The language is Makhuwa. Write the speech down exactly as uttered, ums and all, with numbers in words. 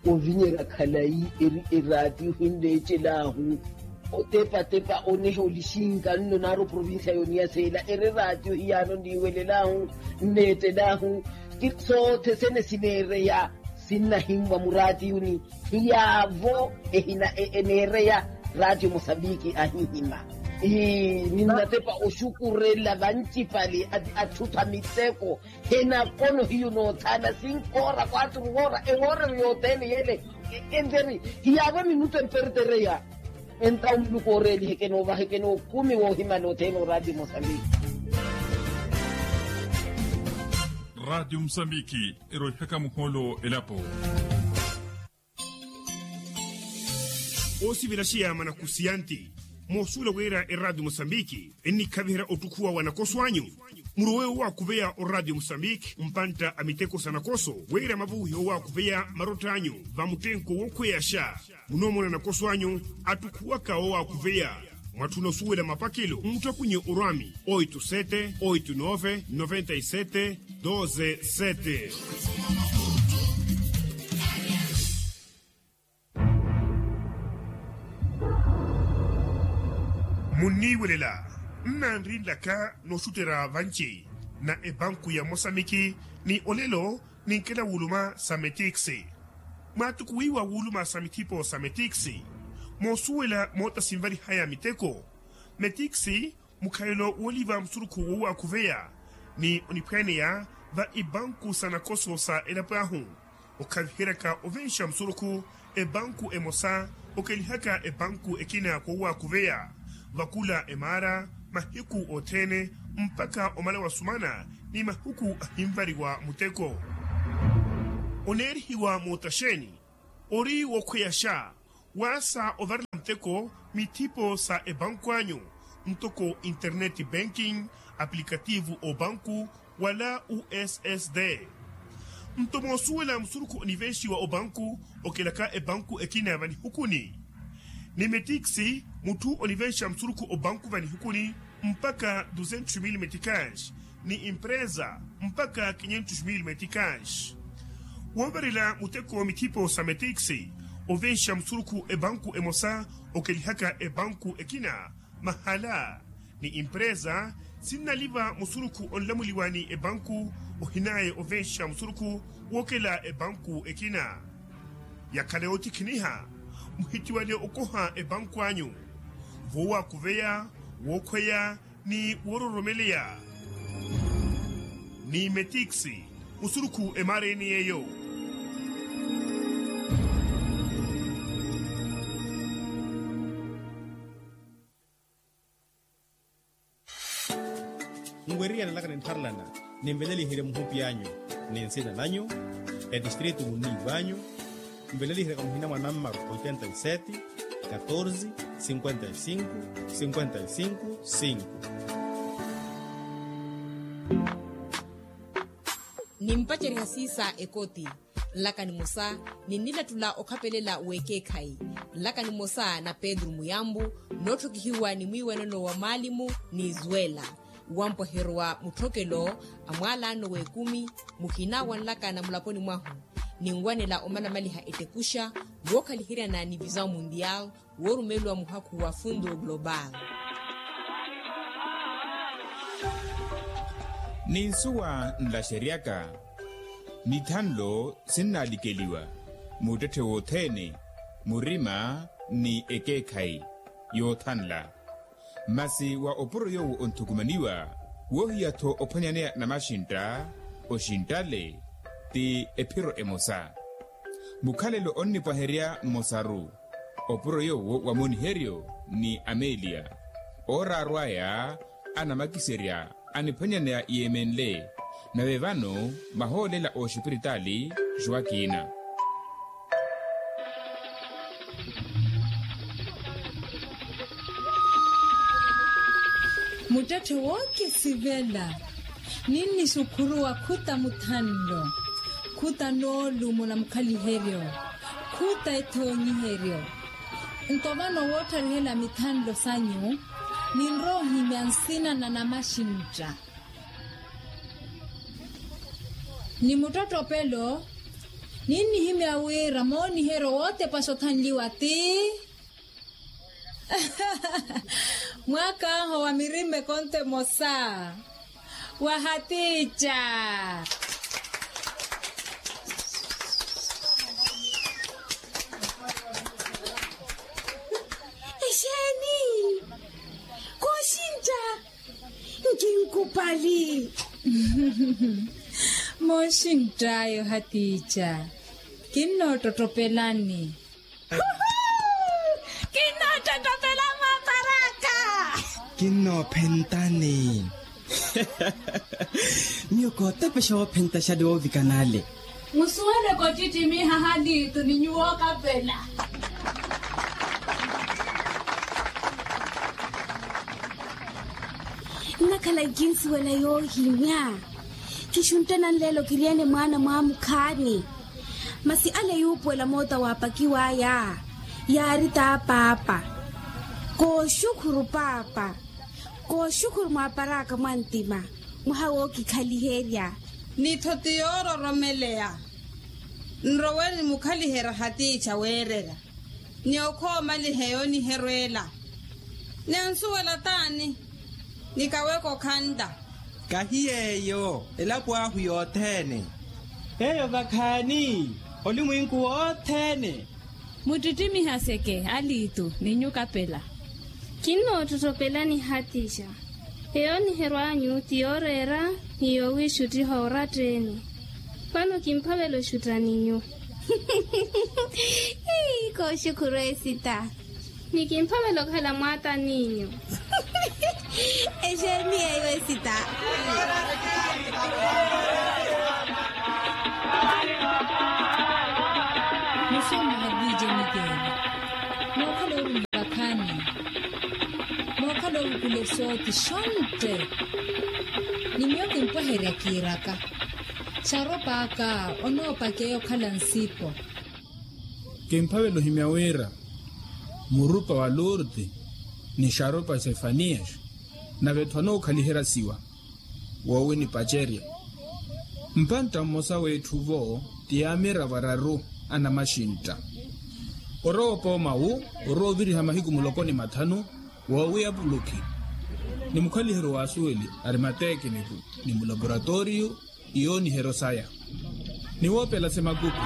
Ovinyerya khalayi eri eraatiyo ohinleecelahu otepatepa oneha olixinka nno naaru oprovincia yooniya seela eri eraatiyo hiyaano niiwelelahu nneettelahu. Soothe sene sineereya sinnahinwa muraatiyuni hiyaavo ehina eneereya. Raatiyo mosambiki ahihima ninnatepa oxukurela vancipali atthu tha miteko. Henakono hiyo noothaana sinkoora kwaturu woora ewoorero yothene yele. Enteri hiyaavo minuto empertereya. Entawo muluku ooreelihe kenoovaheke nookumi woohimana othene oraatiyo mosambiki. Raatiyo mosambiki eroohihaka muhoolo elapo. Oosivela xiyaama na kusiyanti moosuwela wira eraatiyo mosambiki ennikhaviherya ottukhuwa wa nakoso anyu. Murowe owaakuveya oraatiyo mosambiki mpantta a miteko sa nakoso wira mavuwihe owaakuveya marott'anyu va muttenko wookhweyaxa. Munoomona nakoso anyu attukhuwaka owaakuveya. Mwatthuna osuwela mapakelo mmuttakuniye orwami oito sete oito nove noventa e sete doze sete. Munniiwelela nnanri nlaka nooxutterya vanci na epanku ya mosamiki ni olelo ninkela wuluma sa metiksi. Mwaattukuwiwa wuluma sa mithipo sa metiksi moosuwela moota sinvarihaya miteko. Metiksi mukhalelo wooliva musurukhu wowaakuveya ni oniphwaaneya va ipanku sa nakoso sa elapo ahu. Okhaviheryaka ovenxa musurukhu epanku emosa okelihaka epanku ekina kowaakuveya vakula emaara mahiku othene mpakha omala wasumana ni mahiku ahinvariwa muteko. Oneerihiwa moota xeeni? Ori wookhweyaxa waasa ovarela muteko mithipo sa epanku anyu ntoko internet banking, apulikativu opanku wala ussd. Nto moosuwela musurukhu onivenxiwa opanku okelaka epanku ekina vanihukuni ni metiksi mutthu onivenxa musurukhu opanku vanihukuni mpakha duzentos mil metikans ni empresa mpakha kinhentos mil metikans. Woovarela muteko mithipo sa metiksi ovenxa musurukhu epanku emosa okelihaka epanku ekina mahala ni empresa sinnaliva musurukhu onlamuliwa ni epanku ohinaya ovenxa musurukhu wookela epanku ekina. Yakhala yootikhiniha muhitiwale okoha epanku anyu vowaakuveya wookhweya ni woororomeleya ni metiksi musurukhu emaara ene yeeyo. Nweriyana nlaka nintharelana ninveleliherye muhupi anyu ni nsina nanyu etistritu munniivanyu. Nveleliheryaka muhina mwa nammaru oitenta e sete katorze sinkwenta e sinku sinkwenta e sinku sinku. Nimpacerya siisa ekoti nlaka nimosa ninnilattula okhapelela w'ekeekhayi nlaka nimosa na pedru muyambu nootthokihiwa ni mwiiwanano wa maalimu ni zwela wampweheryo wa mutthokelo a mwaalaano w'ekumi muhina wa nlaka na mulaponi mwahu ninwanela omanamaliha ettekuxa wookhaliheryana ni visao mundial woorumeliwa muhakhu wa fundo global. Ni nsuwa nlaxeryaka mithanlo sinnaalikeliwa muttetthe wothene murima ni ekeekhayi yoothanla. Masi wa opuro yoowo onthukumaniwa woohiya-tho ophwanyaneya namaxintta oxinttale ti ephiro emosa. Mukhalelo onnipwaherya mmosaru opuro yoowo wa moniheryo ni amelia ooraaru aya anamakiserya aniphwanyaneya yeemenle. Nave vano mahoolela oxipiritaali joaquina. Muttetthe wookisivela ninnixukhuruwa khuta muthanlo khuta noolumo na mukhaliheryo khuta ethoonyiheryo. Nto vano woottarihela mithanlo sanyu ninrowa ohimya nsina na namaxintta ni muttottopelo Ninnihimya wira mooniheryo wootepaxa othanliwa ti mwaak'ahu wa mirima ekonto emosa wa hatiica. Exeeni? Kooxintta. Nkinkupali. Mooxintt'aya ohatiica. Kinnoottottopelani. Kinnoottottopela mwaaparaka. Kinnoophentani. Miyo kootepexa woophentaxali woovikana ale. Musuwele kottittimiha haliitu ni nyuwo okapela. Nnakhala nkinsuwela yoohimya. Kixuntte nanleelo kiriene mwaana mwaamukhaani. Masi ale yuupuwela moota waapakiw'aya yaari t'apaapa. Kooxukhuru paapa. Kooxukhuru mwaaparaka mwa ntima. Mwaha wookikhaliherya. Ni-tho ti yoororomeleya. Nrowe nimukhaliherya hatiica weererya. Ni okhoomaliha eyooniheryo ela. Ni ansuwela t'ani? Ni kaweka okhantta. Kahi yeeyo elapo ahu yothene. Eyo vakhaani olimwinku wothene. Muttittimihaseke aliitu ni nyuwo okapela. Kinnoottottopelani hatiica. Eyooniheryo anyu ti yooreera ni yoowiixuttiha oratteeni. Vano kimphavela oxutta ni nyuwo. Kooxukhuru esita. Ni kimphavela okhala mwaata ni nyuwo. Exeeni eyo esita. Musomaha viije mikeela. Mookhala oorumya vakhaani. Mookhala oovukula esoothi xontte. Ni miyo kimpweherya kiiraka. Xaropaaka onoopakeya okhala nsipo. Kimphavela ohimya wira murupa wa lurti ni xaropa sefaniyasi nave-tho anookhaliherya siwa. Woowi nipacerye. Mpantta mmosa w'etthu-vo ti yaamiravo araru anamaxintta. Orowa opooma wu orowa oviriha mahiku muloko ni mathanu. Woowi apulukhi ni mukhaliheryo w'asuweli arimatekiniku ni mulaporatoriyu iyooniheryo saya ni woopela semakupi.